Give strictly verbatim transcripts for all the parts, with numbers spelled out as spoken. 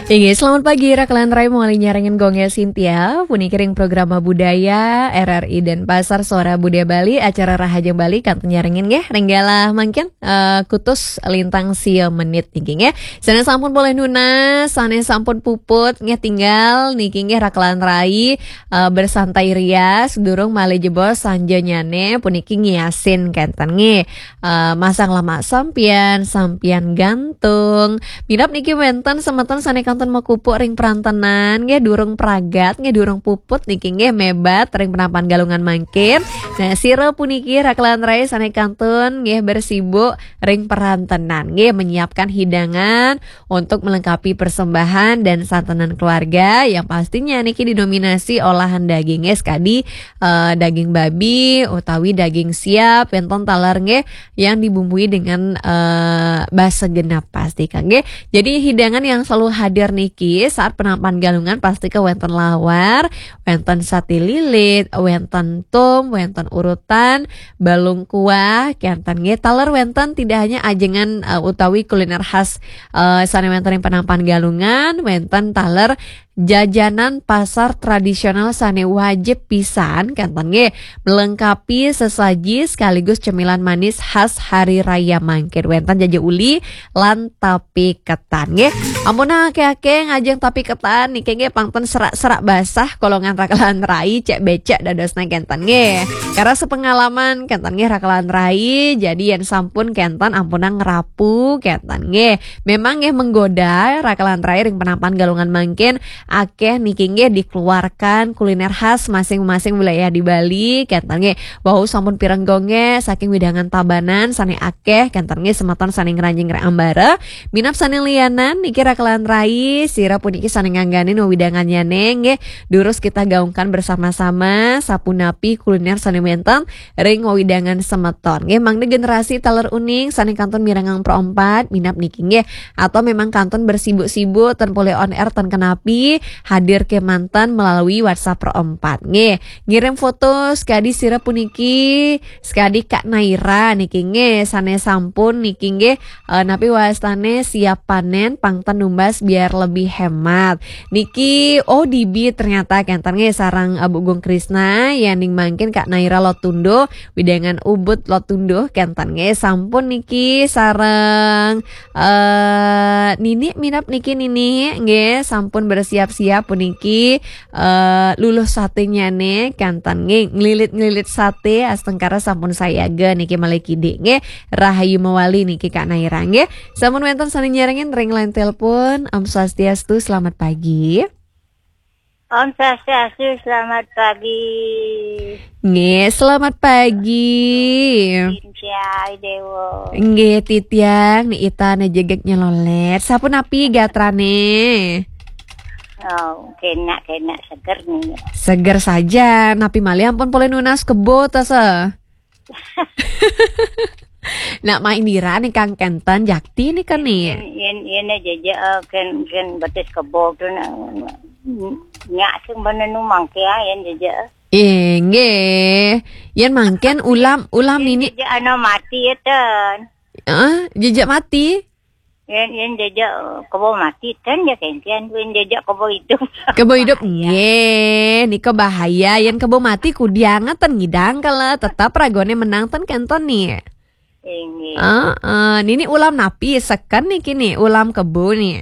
Inggih, selamat pagi, Rakelan Rai, mawali nyarengin Gong Cynthia, puniki ring programa budaya R R I Denpasar, Suara Budaya Bali, acara Rahajeng Bali, kantun nyarengin nggih, ring galah mangkin, eh, kutus lintang sia menit niki nggih. Sané sampun polih nunas, sané sampun puput nggih tinggal niki nggih Rakelan Rai, eh, bersantai ria, durung malih jebos sanjanyané puniki ngiasin kénten nggih. Eh, masang lamak sampian, sampian gantung. Minab niki wénten semeton sané kantun makupuk ring perantenan, nggih durung pragat, nggih durung puput niki nggih mébat ring penampahan Galungan mangkin. Nah, sira puniki Rakelan Rai sané kantun nggih bersibuk ring perantenan, nggih menyiapkan hidangan untuk melengkapi persembahan dan santunan keluarga yang pastinya niki didominasi olahan daging, nggih sekadi, eh, daging babi utawi daging siap, wénten taler nggih yang dibumbui dengan, eh, basa genap pasti kan nggih. Jadi hidangan yang selalu hadir niki saat penampahan Galungan pasti ke wénten lawar, wénten sate lilit, wénten tum, wénten urutan, balung kuah, kénten nggih. Taler wénten tidak hanya ajengan, eh, utawi kuliner khas, eh, sané wénten ring penampahan Galungan, wénten taler jajanan pasar tradisional sané wajib pisan, kénten nggih, melengkapi sesaji sekaligus cemilan manis khas hari raya mangkin. Wénten jaja uli lan tape ketan nggih. Ampun akéh-akéh ngajeng tape ketan niki nggih pangten serak-serak basah kolongan Rakelan Rai, cek becek dadosna kénten nggih. Karena sepengalaman kénten nggih Rakelan Rai, jadi yén sampun kénten ampunang ngrapu kénten nggih. Memang nggih menggoda Rakelan Rai ring penampahan Galungan mangkin akéh niki nggih dikeluarkan kuliner khas masing-masing wilayah di Bali kénten nggih. Wau sampun pireng Gong nggih saking wewidangan Tabanan sané akéh kénten nggih semeton sané ngranjing ring ambara. Minab sané lianan niki Rakelan Rai, sira puniki sané ngangganin wewidangannya nggih. Durus kita gaungkan bersama-sama sapunapi kuliner sané wénten ring wewidangan semeton. Nggih, mangda generasi taler uning sané kantun mirengang Pro empat, minab niki nggih. Atau memang kantun bersibuk-sibuk ten polih on air ten kenapi, hadir kémanten melalui WhatsApp Pro empat. Nggih, ngirim foto sekadi sira puniki, sekadi Kak Naira niki nggih, sané sampun niki nggih, eh, napi wastané siap panén pangten numbas biar lebih hemat. Niki, oh, dibi ternyata kénten nggih sareng, eh, Bu Gung Krisna, yéning mangkin Kak Naira Lotundo, wewidangan Ubud Lotundo, kénten nggih sampun niki sareng, eh, Nini minab niki Nini, nggih sampun bersiap-siap puniki, eh, luluh satenyané, kénten nggih nglilit-nglilit saté, astungkara sampun sayaga niki malih kidik nggih, rahayu mawali niki Kak Naira nggih. Sampun wénten sané nyarengin ring line telepon. Om Swastiastu, selamat pagi. Om Swastiastu, selamat pagi. Nggih, selamat pagi. Cynthia Dewo. Nggih, titiang ni ita né jegég nyelolét. Sapunapi gatrané? Oh, kénak-kénak seger nih. Seger saja. Napi malih ampun polih nunas kebo ta sa? Nak main dira nih Kang kénten jakti nih kan nih. Yén, yén, yén aja, eh, kén, kén betis kebo tuh, nah, nyak sing bener nu mangké, ah, yén aja. Inggih. Yén mangkin ulam, ulam Yén nini. Aja anu mati ya, ten. Heeh, jejak mati. Yén, yén jejak, eh, kebo mati, ten ya kéngkén. Yén jejak kebo hidup. Kebo hidup, bahaya. Nggih, nika bahaya. Yén kebo mati kudiang ten ngidang kala, tetap ragoné menang ten kénten nih. Inggih. Heeh, nini ulam napi seken niki nih, ulam kebo nih.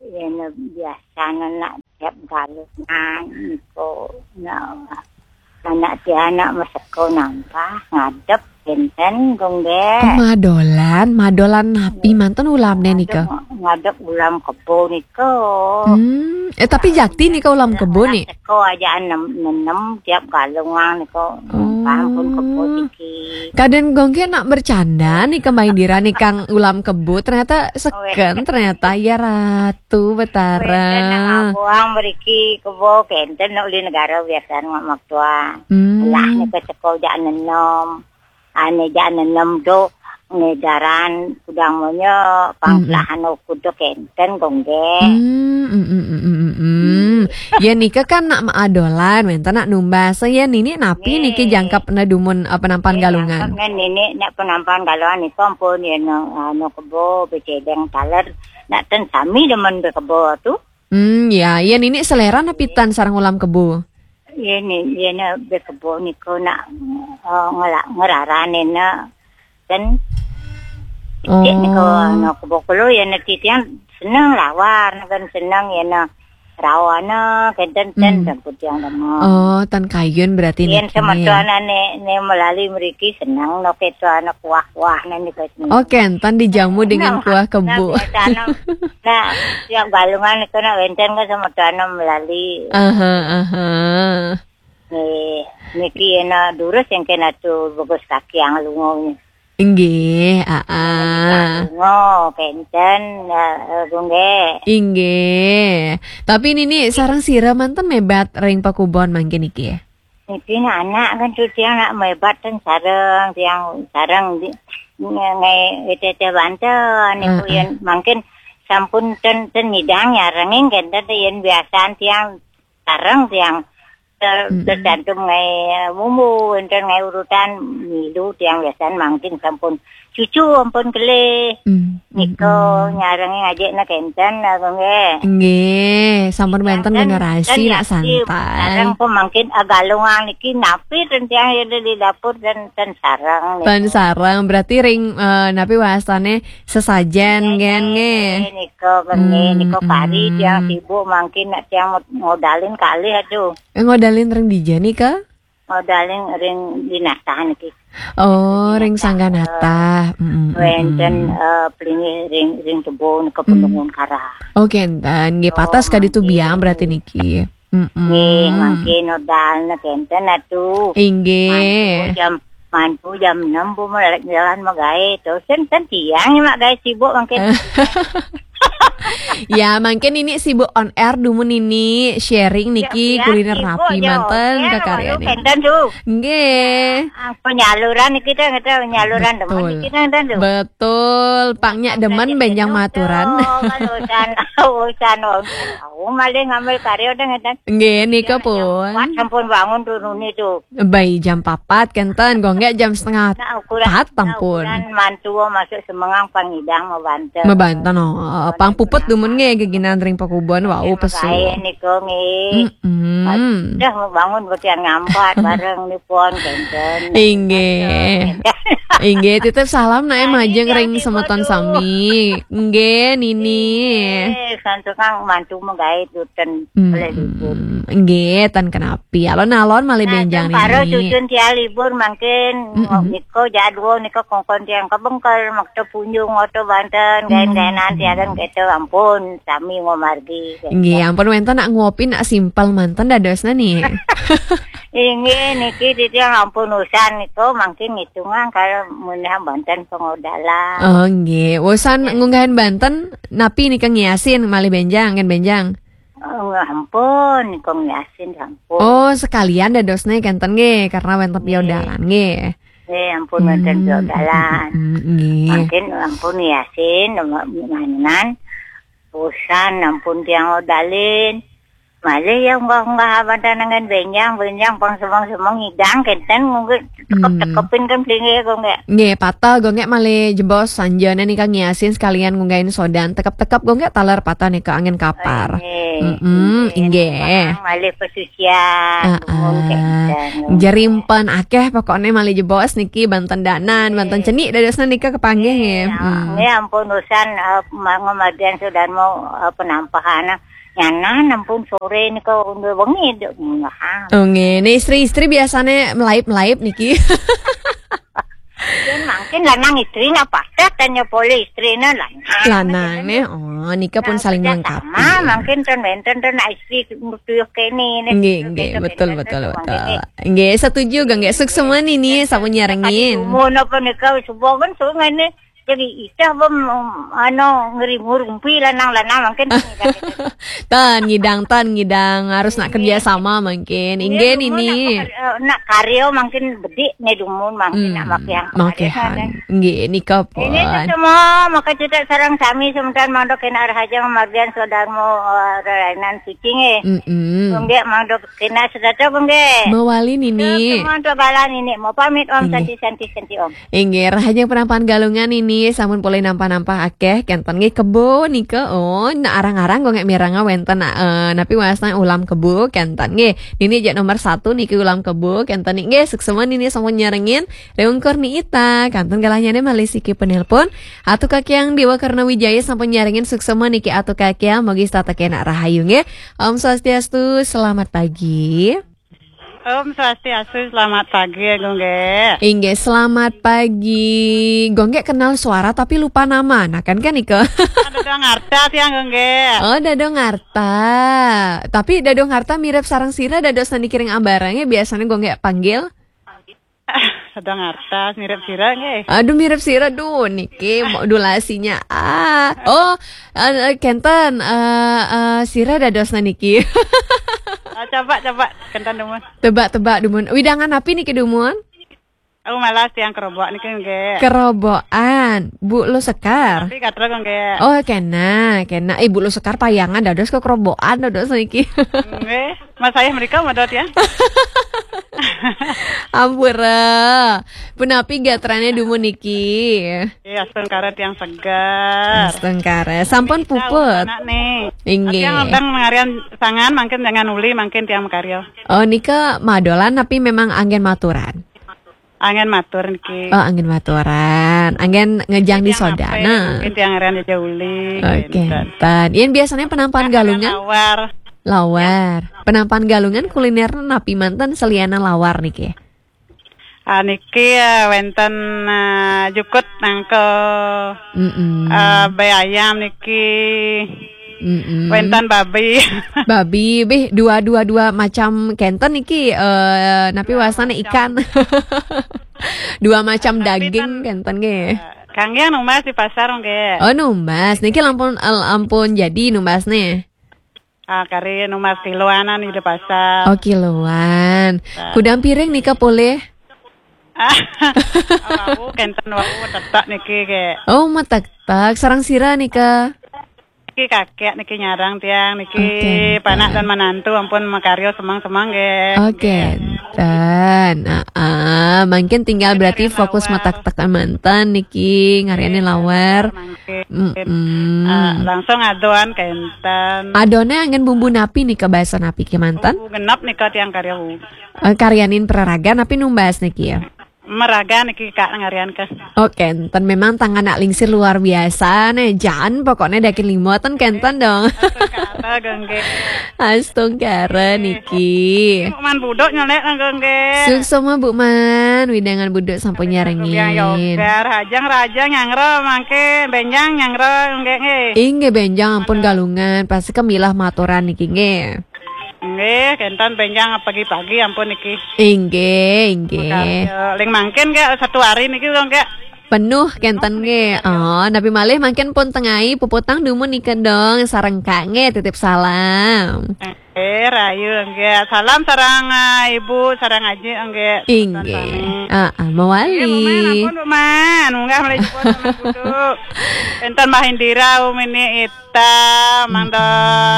Yén biasana nak tiap galungan niku, nah, anak tiang nak maseko nampah ngadep kénten, Gung, nggih. Oh, madolan, madolan napi manten ulamné nika? Ngadep, ngadep ulam kebo nika. Hmm, eh, tapi jakti nika ulam kebo nih. Seko aja nenem, nenem tiap galungan nika. Oh. Ampun kebo siki. Kadén Gung nak bercanda nih, kemain dira nih Kang ulam kebo, ternyata seken, ternyata ya Ratu Betara. Wénten nak abuang mriki kebo kénten nak uli negara biasa nak maktua. Hmm. Lah nika seko jak nenem. Ané jak nenem do ngedaran kudang monya pangkelahan kudu kénten, Gung, nggih. Hmm, hmm, hmm, hmm, hmm, hmm. Ya nika kan nak maadolan, wénten nak numbas. Ya nini napi niki jangkep na dumun, eh, penampahan galungan? Jangkep na nini nak penampahan galungan niku ampun ya no, anu kebo becedeng taler. Nak ten sami demen bekebo tu. Hmm, ya, ya nini selera napi tan sareng ulam kebo. Iya ni, iya ni bekebo niko nak, eh, ngela-, ngerarane na. Ten Oh. Cek niko, anu, kebo kulo ya na titiang seneng lawar, kan seneng ya na rawana, kenten ten Hmm. Ten putiang dama. Oh, tan kayun berarti Yen niki. Semeton ane ne melali meriki seneng no keto anak kuah-kuah nani keten. Oh, kenten dijamu dengan Nah, kuah kebo. Nah, biasa no. Nah, tiap galungan itu nak wenten kan semeton melali. Aha, aha. Nih, niki ena durus yang kena tu bagus kaki yang lungo. Inggih, aa. Lungo, kenten, eh, eh, gungge. Inggih. Tapi nini sareng sira manten mebat ring pakubon mangkin niki? Niki anak kan tu tiang nak mebat ten sareng, tiang sareng di, nge-, nge-, ete-ete banten, niku Oh, yen oh. Mangkin sampun ten, ten nyidang nyarengin kenten yen biasan tiang sareng tiang ter-, Mm-mm. Tercantum ngai, eh, bumbu, enten ngai urutan milu tiang biasan mangkin sampun cucu ampun kelih. Mm, Niko mm-mm. Nyarengin ajek na kenten, abang, eh. Nggih, sampun Tiang wenten kan generasi nak santai. Sareng pun mangkin agalungan niki napi ten tiang ada di dapur dan ten sareng niku. Ten sareng, berarti ring, eh, napi wasane sesajen, Nggih, gen, nggih, nggih. Niko, nggih, niko kari tiang Mm-mm. Sibuk mangkin nak tiang ngodalin kalih, aduh. Eh, ngodalin ring dija nika? Ngodalin ring dinasah niki. Oh, ring sangganata. Mm-mm, wenten, mm-mm. Eh, pelinggih ring, ring tebo nika Mm. Penungun Karah. Oh, kenten. Nggih, oh, patas kadi tu mangkin. Biang berarti niki. Mm-mm. Nggih, mangkin nodalna kenten atu. Inggih. Mantu jam, mantu jam enam bu melek jalan magae. Terus kan, kan tiang mak gae sibuk mangkin. Ya, mangkin ini sibuk on air dumun ini sharing niki ya, kuliner sibuk napi ya, manten oke, kakaryan lalu ini. Kenten tu. Nggih. Ah, penyaluran kita, kita penyaluran demen Betul. Kita kenten tu. Betul. Pangnya demen benjang maturan. Kalau urusan, urusan, oh, malih ngambil karya dah kenten. Nggih, nika ya, pun. Sampun bangun turun itu. Bai jam papat kenten, gongge jam setengah Nah, ukuran, pat nah, ampun. Ukuran mantua masuk semengang pangidang mabanten. Mabanten, oh. Pang puput dumun nggih geginan ring pakubon, wau pesu. Kaya niku nggih. Mm-mm. Dah mau bangun betian ngampat bareng nipun kenten. Inggih. Inggih, titip salam nak majeng ring semeton sami. Nggih, Nini. Nggih, santukang mantu magae duten oleh libur. Mm-mm. Nggih, tan kenapa. Pi alon-alon malih nah, benjang niki. Cucun tiang libur mangkin mm-mm. Niko jadwal niko kongkon tiang kebengkel makta punjung oto banten gaen-gaenan tiang kete ampun sami ngomargi. Nggih, ampun wenten nak ngopi nak simpel manten dadosna nih. Inggih niki titiang ampun usan niko mangkin ngitungan kalau menah banten pengodalan. Oh, nggih. Usan ngunggahin banten napi nika ngiasin malih benjang kan benjang. Oh, ampun, kong yasin ampun. Oh, sekalian dadosne kenten nggih, karena wenten piodalan nggih. Nggih, ampun wenten piodalan. Hmm, nggih. Mangkin ampun yasin, manan, usan ampun tiang odalin. Malih ya unggah-unggah abantan dengan benjang, benjang pang semong-semong ngidang kenten nggih. Tekep-tekepin kan pelinggih, Gong, ya. Nggih, patah, Gong, ya, malih jebos sanjana nika ngiasin sekalian ngunggahin sodan. Tekep-tekep, Gong, ya, taler patah nika angin kapar. Oh, nggih. Mm-mm, nggih. Nggih. Malih pesucian, ah, ngomong ah. Kayak gitu. Jerimpen akeh pokoknya malih jebos niki banten danan, banten cenik dadosna nika kepanggih, nggih. Nggih, mm. Nggih, ampun usan, eh, ma-, ngomadian sodan mau, eh, penampahan. Nyanan ampun sore nika udah wengi dek ngahang. Oh, nggih. Nih istri-istri biasanya melaip-melaip niki. Yen mangkin lanang istri nak patah tanya pole istri na lanang. Lanang nih, oh, nika pun nah, saling melengkapi. Sama, mangkin ten wenten ten nak istri tuyuh kene nih. Nggih, nggih, betul, betul, betul. Nggih, setuju, Gong, nggih. Suksma nini, sampun nyarengin. Umur napa nika subuh kan sungai nih. Jadi itah bem, anu, ngerimu rumpi lanang-lanang mangkin. Tan ngidang, tan ngidang harus nak kerja sama mangkin. Inggih nini. Nak, eh, nak karya mangkin bedik ne dumun mangkin nak makihan. Makihan. Nggih nika pun. Ini semua maka cerita sarang sami semeton mangda kena rahaja margian sodarmo, eh, rerainan suci nggih. Mm-mm. Nggih mangda kena sedata nggih. Mawali nini. Semua untuk galan ini mau pamit om santi santi santi om. Inggih, rahajeng penampahan galungan ini. Nggih, sampun polih nampah-nampah akéh kénten nggih kebo nika. Oh, nah arang-arang Gung Gék mireng wénten, eh, napi wastan ulam kebo kénten nggih. Nini jak nomor satu niki ulam kebo kénten niki nggih. Suksma nini sampun nyarengin. Ring Ungkur Ni Ita, kantun galahnya malih siki penelpon. Atu Kakiang Dewa Karna Wijaya sampun nyarengin, suksma niki Atu Kakiang, mogi setata kénak rahayu nggih. Om Swastiastu, selamat pagi. Om Swastiastu, selamat pagi ya Gung Gék. Inggih, selamat pagi. Gung Gék kenal suara tapi lupa nama. Nah kan kan nika. Dadong Arta tiang Gung Gék. Oh, Dadong Arta. Tapi Dadong Arta mirip sareng sira dados niki ring abarang ya, biasanya Gung Gék panggil. Dadong Arta mirip sira nggih. Aduh, mirip sira, duh niki modulasinya. Ah. Oh, eh, kénten, eh, eh, sira dadosna niki. Ah, coba, coba, kénten dumun. Tebak-tebak dumun. Widangan napi niki dumun? Aku malas tiang kerobok niki nggih. Kerobokan, Bu Lo Sekar. Tapi katra nggih. Oh, kena, kena. Eh, Bu Lo Sekar payangan dados kekerobokan dados niki. Nggih. Mas saya mereka madot ya. Ampura. Punapi gatrane dumun niki? Iya, astungkara tiang segar. Astungkara. Sampun puput? Anak nih. Inggih. Tiang abang ngarian sangan, mangkin jangan uli, mangkin tiang makarya. Oh, nika madolan tapi memang anggen maturan? Anggen matur niki. Oh, anggen maturan. Anggen ngejang di soda. Nah. Mungkin tiang ngarian jaja uli. Oke. Kénten. Yen biasanya penampan galungan? Lawar. Lawar. Penampan galungan kuliner napi manten seliana lawar niki? Ah, niki, eh, wénten, eh, jukut nangko. Mm-mm. Eh, bai ayam niki. Mm-mm. Wénten babi. Babi, bih, dua, dua, dua macam kénten niki, eh, napi wasane ikan. Dua macam daging kénten nggih. Kangge numbas di pasar nggih. Oh, numbas. Niki lampun, eh, ampun jadi numbasne. Ah, kari numbas kiloanan di pasar. Oh, kiloan. Kudang piring nika polih? Ah, wau, kénten wau, tetek niki ke. Oh, metektek. Sareng sira nika? Niki kakek niki nyarang tiang niki. Oh, kénten. Panak dan menantu ampun makarya semeng-semeng nggih. Oh, kénten. Ah, ah, mungkin tinggal berarti fokus metektek manten niki ngariane lawar. Mangkin. Mm-mm. Ah, langsung adoan kénten. Adone anggen bumbu napi nika, basa napi kemanten? Bumbu genep nika tiang karya. Eh, karyanin peraragan napi numbas niki ya? Meragan niki Kak ngarian ke. Oh, kénten memang tangan nak lingsir luar biasa nih. Jan pokoknya dakin limo ten kénten dong. Astungkara gengge. Astungkara niki. Man budok nyelek nang gengge. Suksma Bu Man, widangan budok sampun nyarengin. Biang yogar, rajang rajang nyangro mangke, benjang nyangro gengge nggih. Inggih benjang ampun galungan, pasti kemilah maturan niki nggih. Nggih, kénten benjang pagi-pagi ampun niki. Inggih, inggih. Ling mangkin ke satu hari niki dong ke. Penuh kénten nggih. Oh, napi malih mangkin pun tengai puputang dumun nika dong sareng Kak nggih titip salam. Eh, rayu nggih. Salam sareng, eh, Ibu, sareng Aji nggih. Inggih. Sami. Ah, ah, mawali. Nggih, Bu Man, ampun Bu Man. Munggah malih jebos Man buduk. Enten Mbah Indira, Umi Ni Ita, Mangda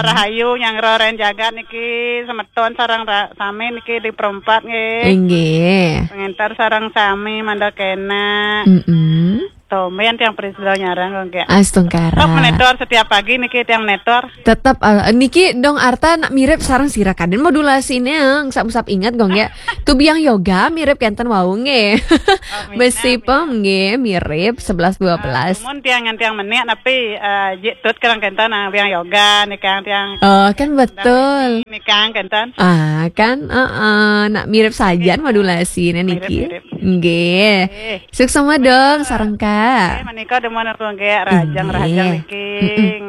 Rahayu, nyangro ren jagat niki, semeton sareng ra-, sami niki di perempat nggih. Inggih. Pengentar sareng sami Mangda kena. Mm-mm. Tomben tiang Priscilla nyarang kok nggih. Astungkara. Tetep menetor setiap pagi niki tiang menetor. Tetep, eh, niki dong Arta nak mirip sareng sira kaden modulasinya, eh, usap-usap ingat kok nggih. Tubiang yoga mirip kenten wau nggih. Oh, mirip. Mesipem nggih mirip sebelas dua belas. Mun tiang ngan tiang menik tapi, eh, jik tut kerang kenten nang tiang yoga nih kang tiang. Oh, kan betul. Nih kang kenten. Ah, kan, heeh, nak mirip sajan modulasi niki. Mirip, mirip. Nggih. Nggih. Suksma dong sareng Kak. Nggih, menika demen aku nggih rajang-rajang niki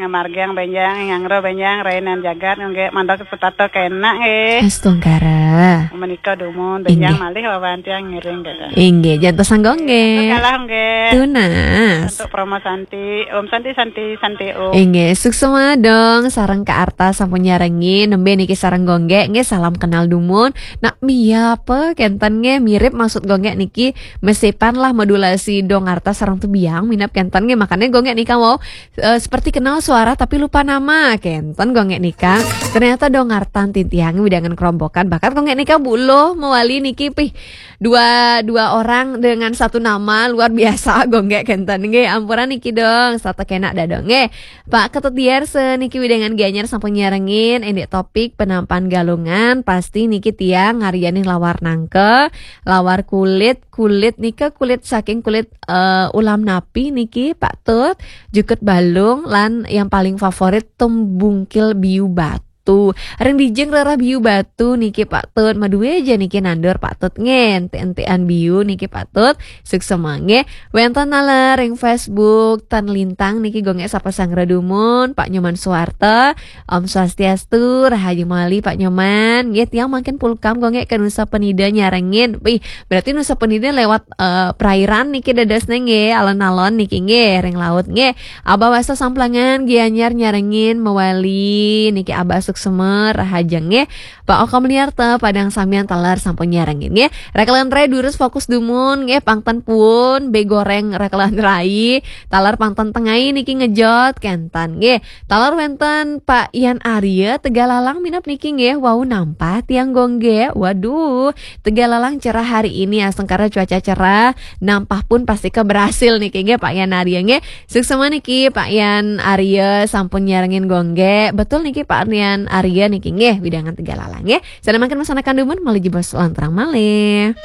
ngamargiang benjang, nyangro benjang, rainan jagat nggih mandok setata kena nggih. Astungkara. Menika dumun benjang malih wawan tiang ngiring nggih. Inggih, jantos anggo nggih. Kalah nggih. Tunas. Untuk promo Santi, Om Santi, Santi, Santi, Om. Inggih, suksma dong sareng Kak Arta sampun nyarengin, nembe niki sareng Gung Gék, nggih salam kenal dumun. Nak Mia apa kenten nggih mirip maksud Gung Gék niki mesipan lah modulasi Dongarta sareng Tebiang minab kenten nggih. Makanya Gonggek nika wau eh, seperti kenal suara tapi lupa nama kenten Gonggek nika. Ternyata Dongarta tintiang widangan kerombokan bakat Gonggek nika bulo mewali niki pih dua dua orang dengan satu nama luar biasa Gonggek kenten nggih. Ampuran niki dong, sata kena dadong nggih. Pak Ketut Diarse niki widangan Gianyar sampun nyarengin indik topik penampan galungan pasti niki tiang ngarianin lawar nangke, lawar kulit, kulit nika kulit saking kulit eh, ulam napi niki Pak Tut, jukut balung lan yang paling favorit tumbungkil biu batu. Ring dijeng rerah biu batu niki Pak Tut, madue aja niki nandur Pak Tut nggih, enti-entian biu niki Pak Tut, suksema nggih. Wenten taler ring Facebook Tan Lintang niki Gonggek sapa sanggra dumun, Pak Nyoman Suwarta, Om Swastiastu, rahayu mali Pak Nyoman. Nggih tiang makin pulkam Gonggek ke Nusa Penida nyarengin. Wih, berarti Nusa Penida lewat eh, perairan niki dadosne nggih, alon-alon niki nggih, ring laut nggih. Abah Wasa Samplangan Gianyar nyarengin mewali niki Abah Suksema rahaja nggih. Pak Oka Meliarta Padang Samian taler sampun nyarengin nggih. Rekelan Rai durus fokus dumun nggih, pangten pun be goreng rekelan Rai. Taler pangten tengai niki ngejot kenten nggih. Taler wenten Pak Ian Arya Tegalalang minab niki nggih. Wau nampah tiang Gonggek. Waduh, Tegalalang cerah hari ini astengkara cuaca cerah. Nampah pun pasti ke berhasil niki nggih Pak Ian Arya nggih. Suksema niki Pak Ian Arya sampun nyarengin Gonggek. Betul niki Pak Ian Arya niki nggih widangan Tegalalang nggih. Sana makin masanakan dumun malih jebos lantrang malih.